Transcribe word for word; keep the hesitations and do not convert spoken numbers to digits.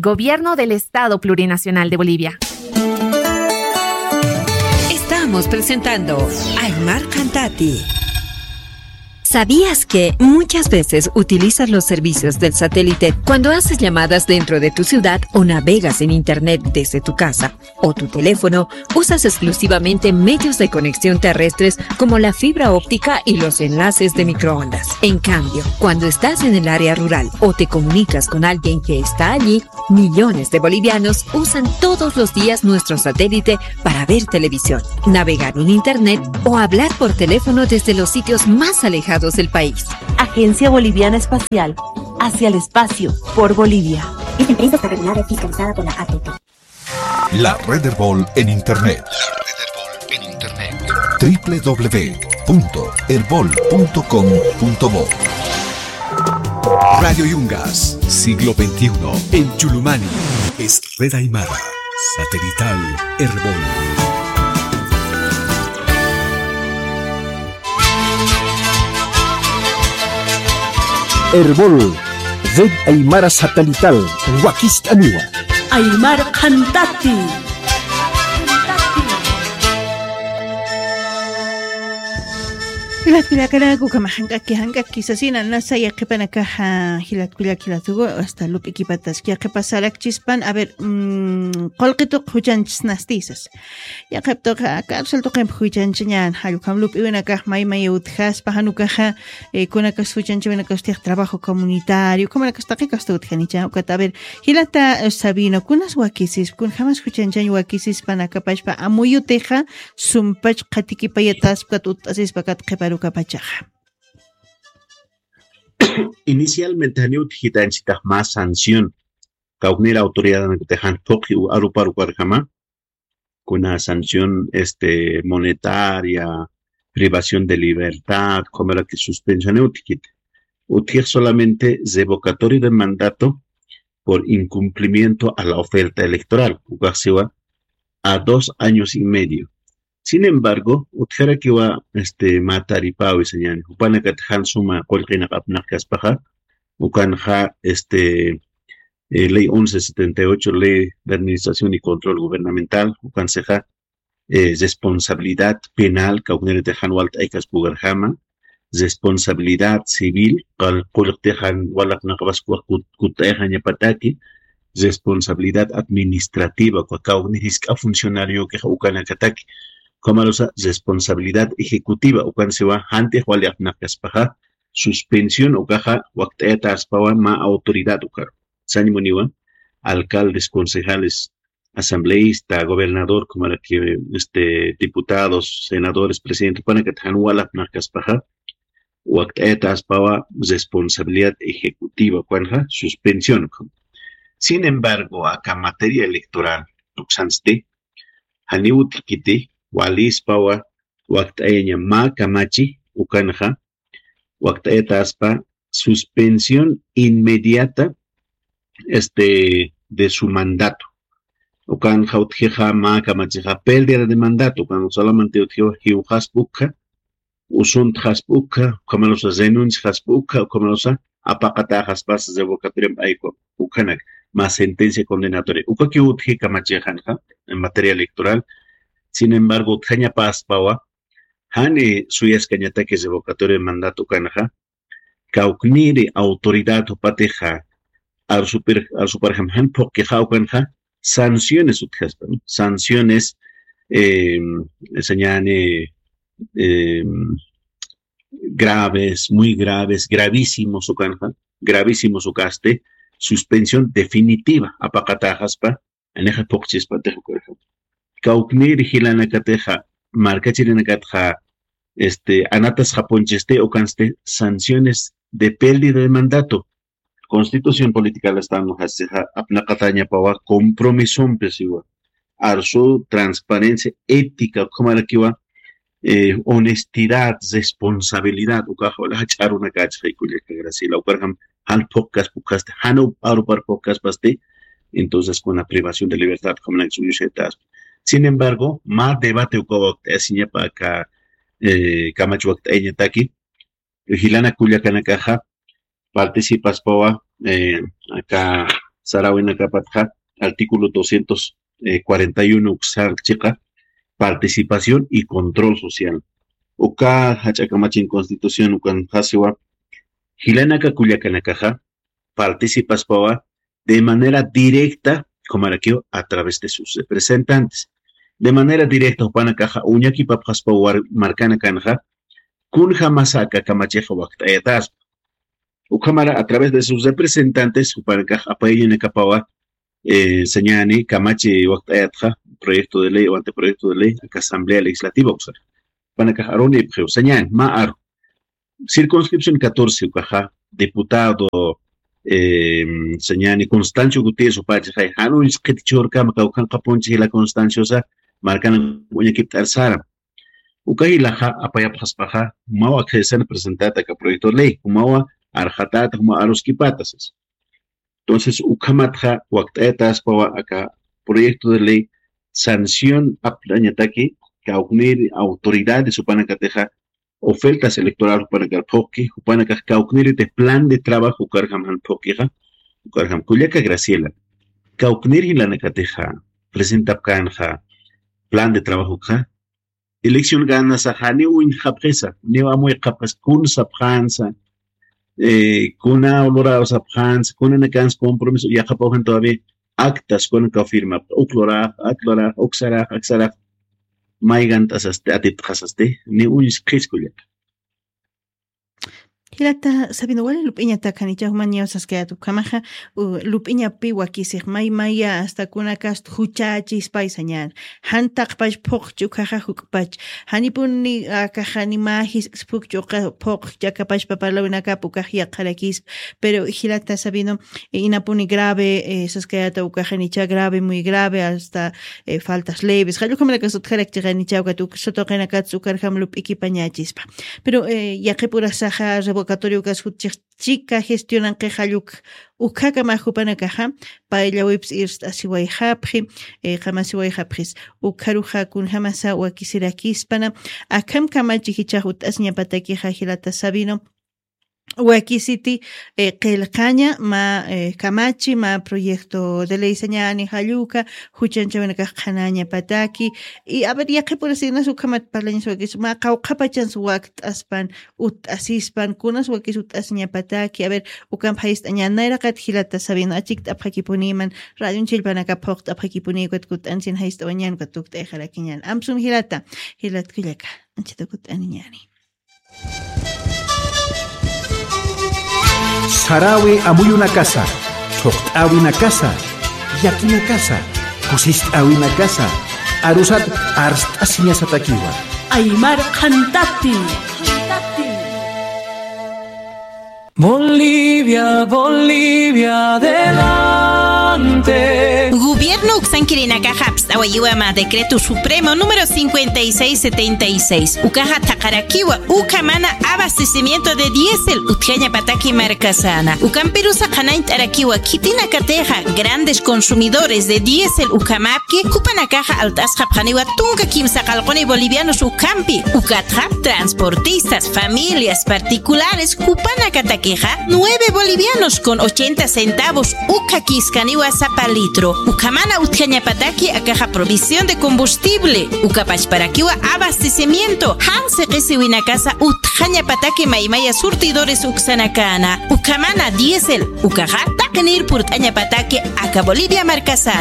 Gobierno del Estado Plurinacional de Bolivia. Estamos presentando Aymar Cantati. ¿Sabías que muchas veces utilizas los servicios del satélite cuando haces llamadas dentro de tu ciudad o navegas en Internet desde tu casa o tu teléfono? Usas exclusivamente medios de conexión terrestres como la fibra óptica y los enlaces de microondas. En cambio, cuando estás en el área rural o te comunicas con alguien que está allí, millones de bolivianos usan todos los días nuestro satélite para ver televisión, navegar en Internet o hablar por teléfono desde los sitios más alejados del país. Agencia Boliviana Espacial, hacia el espacio, por Bolivia. Esta empresa está regulada y fiscalizada por la A T T. La Red Erbol en Internet. Triple w punto erbol punto com punto bo. Radio Yungas, siglo veintiuno, en Chulumani. Es Red Aymara, satelital Erbol. Erbol, Red Aymara Satelital, wakist'aniwa. Aymar Qhantati. Jilat kullakanaku, ukhama jank'aki, jank'aki sasina, nasa yaqhipanakaxa, jilat kullak, jilat ugu, hasta lup'ikipatas, yaqhipasarakchispan, a ver, mm, qullqituq juchanchisnasti sas. Yaqhip tuqa, cárcel tuqimp juchanchañan, jall ukham lup'iwinakax may may utjaspa, jan ukaxa, eh, kunakas juchanchawinakas utjix trabajo comunitario, ukhamarakasta qhikasta utjanicha, ukat, a ver, jilata, eh, Sabino, kunas wakisispa, kunjamas juchanchan wakisispa, nakapachpa, amuyutixa, sumpach qhatikipayataspa, kat utt'asispa, kat qhiparukapachaxa. Inicialmente, janiw utjitanchitax mä sanción. Kawknir autoridad jan phuqi u aruparukarjama, kuna sanción, este, monetaria, privación de libertad, como la que suspensión utjit. Utjix solamente revocatorio de mandato por incumplimiento a la oferta electoral. Ukax siwa a dos años y medio. Sin embargo, utjarakiwa, este, mä taripäwi sañäni. Jupanakat jan suma qullqinaq apnaqkaspaxa, ukanxa, este, eh, ley once setenta y ocho, ley de administración y control gubernamental, ukansixa, eh, responsabilidad penal, kawkniriti jan walt'aykaspukkarjama, responsabilidad civil, qal-, qullqti jan walaqnaqapaspa kut-, kutt'ayxañapataki, responsabilidad administrativa, uka kawknir jisk'a funcionariokixa ukanakataki. Ukhamarusa responsabilidad ejecutiva, ukan siwa jantix wali apnaqkaspaxa, suspensión ukaxa wakt'ayataspawa mä autoridad ukaru. Sañ muniwa, alcaldes, concejales, asambleísta, gobernador, como era que, este, diputados, senadores, presidente, jupanakat jan wali apnaqkaspaxa, wakt'ayataspawa responsabilidad ejecutiva, ukanxa suspensión ukham. Sin embargo, aka materia electoral tuksansti, janiw utjkiti, walispawa wakt'ayaña mä kamachi, ukanxa, wakt'ayataspa suspensión inmediata, este, de su mandato. Ukanxa utjixa mä kamachixa pérdida de mandato, ukan solamente utjiwa jiwxaspa ukha, usuntxaspa ukha, ukhamarusa renunciaspa ukha, ukhamarusa apaqataxaspas revocatoria p'ayku, ukhanak, mä sentencia condenatoria. Ukakiw utji kamachixanxa en materia electoral. Sin embargo, utjañapaspawa, jani suyaskañataki revocatoria de mandato ukanxa, kawkniri autoridad jupatixa, arsupir-, arsuparjam jan phuqkixa ukanxa, sanciones utjaspa, ¿no? Sanciones, eh, sañäni, eh, graves, muy graves, gravísimos ukanxa, gravísimos ukasti, suspensión definitiva apaqataxaspa, anixa phuqchispatix ukarjam. Kawknir jilanakatixa, markachirinakatxa, este, anatasxapunchisti, ukansti sanciones de pérdida de mandato. Constitución Política del Estado jasixa apnaqatañapawa compromisompi siwa. Arsu, transparencia, ética, ukhamarakiwa, eh, honestidad, responsabilidad, ukax wali jach'arunakächixay kullaka Graciela, ukarjam jan phuqkaspa ukasti, jan up-, arupar phuqkaspasti, entonces kuna privación de libertad, ukhamanak suyushataspa. Sin embargo, mä debate uka wakt'ayasiñapa aka, eh, kamach wakt'ayañataki, jilanak kullakanakaxa participaspawa, eh, aka sarawinakapatxa, artículo doscientos cuarenta y uno uksan chiqa, participación y control social. Uka jach'a kamachin constitución ukan jasiwa, jilanaka kullakanakaxa, participaspawa de manera directa, como a través de sus representantes. De manera directa, jupanakaxa uñakipapxaspa war-, markanakanxa, kunjamasa aka kamachixa wakt'ayataspa. Ukhamara a través de sus representantes, jupanakax apayañanakapawa, eh, sañani, kamachi wakt'ayatxa, proyecto de ley o anteproyecto de ley, aka asamblea legislativa, usa. Jupanakax arunipxiw, sañani, ma aru. Circunscripción catorce ukaxa, diputado, eh, sañani Constancio Gutiérrez upachi, jay, jan uñsqit churkama kawkhanqapunchi jila Constanciosa, markana uñakipt'ar saram. Uka jilaxa apayapxaspaxa, jumawa akxaysana presentata aka proyecto de ley, jumawa arxatata, jumawa aruskipata, sas. Entonces, ukhamatxa wakt'ayataspawa aka proyecto de ley sanción aptañataki, kawknir autoridades jupanakatixa, ofertas electoral jupanakar phuqki, jupanakax kawkniriti plan de trabajo ukarjam jan phuqkixa, ukarjam kullaka Graciela. Kawknir jilanakatixa, presentapkanxa, plan de trabajo ukxa, elección ganasa, jani uñjapxisa, niw amuyqapxis, kun sapxansa, eh, kuna luraw sapxansa, kunanakansa compromiso, yaqapaw jan todavía actas, kunaka firma, uk lurax, ak lurax, uk sarax, ak sarax, maygant'asasti, atiptxasasti, ni uñsqis kullaka. Jilata Sabino, wali lup'iñatak janicha juman ñaw saskayät ukhamaxa, u, lup'iñapi wakisix may maya hasta kunakast juchächispay sañän. Jan taqpach phuqch ukaxa juk'pach. Janipuni akaxa ni mä jisk'is phuqch uka phuqch akapachpa parlawinakap ukax yaqharakispa. Pero jilata Sabino, eh, inapuni grave, eh, saskayäta ukaxa nicha grave, muy grave, hasta, eh, faltas leves. Jall ukhamanakasa utjarakchix nicha ukat uk-, sutuqinakatsa ukarjam lup'ikipañächispa. Pero, eh, yaqhipurasaxa revocatorio ukas jutchix chika gestionanqix jall uk, ukhakamä jupanakaxa, payllawipsa irst'asiwayxapxi, eh, qamasiwayxapxis, ukharuxa kunjamasa wakisirakispana, akham kamachi jichhax utt'asiñapatakixa jilata Sabino, wakisiti, eh, qillqaña mä, eh, kamachi, mä proyecto de ley sañäni jall uka, juchanchawinakax qhanañapataki. Y, a ver, yaqhipurasinas ukhamat parlañas wakis, mä qawqhapachans wakt'aspan, utt'asispan, kunas wakis utt'asiñapataki. A ver, ukamp jayst'añan, nayraqat jilata Sabino, achikt'apxakipuniman, radion chillpanakap phuqt'apxakipuni, ukat kutt'ansin jayst'awañan, ukat tukt'ayxarakiñan. Amsun jilata, jilat kullaka, anchita kutt'aniñäni. Sarawi amuyunakasa, thuqt'äwinakasa, yakinakasa, kusist'äwinakasa, arusat arst'asiñasatakiwa. Aymar qhantati. Bolivia, Bolivia, adelante. Gobierno uksankirinakaxa apst'awayiwa mä decreto supremo número cincuenta y seis setenta y seis. Ukaxa thaqharakiwa ukhamana abastecimiento de diésel utjañapataki markasäna. Ukampirusa qhanañt'arakiwa khitinakatixa grandes consumidores de diésel ukhamäpki, jupanakaxa alt'asxapxaniwa tunka kimsa qallquni bolivianos ukhampi. Ukatxa transportistas, familias particulares, jupanakatakixa nueve bolivianos con ochenta centavos ukhakiskaniwa sapa litro. Ukhamana utjañapataki akaxa provisión de combustible, ukapachparakiwa abastecimiento, jan siqisiwinakasa utjañapataki maymaya surtidores uksanakäna. Ukhamana diésel, ukaxa taqinir purt'añapataki aka Bolivia markasäna.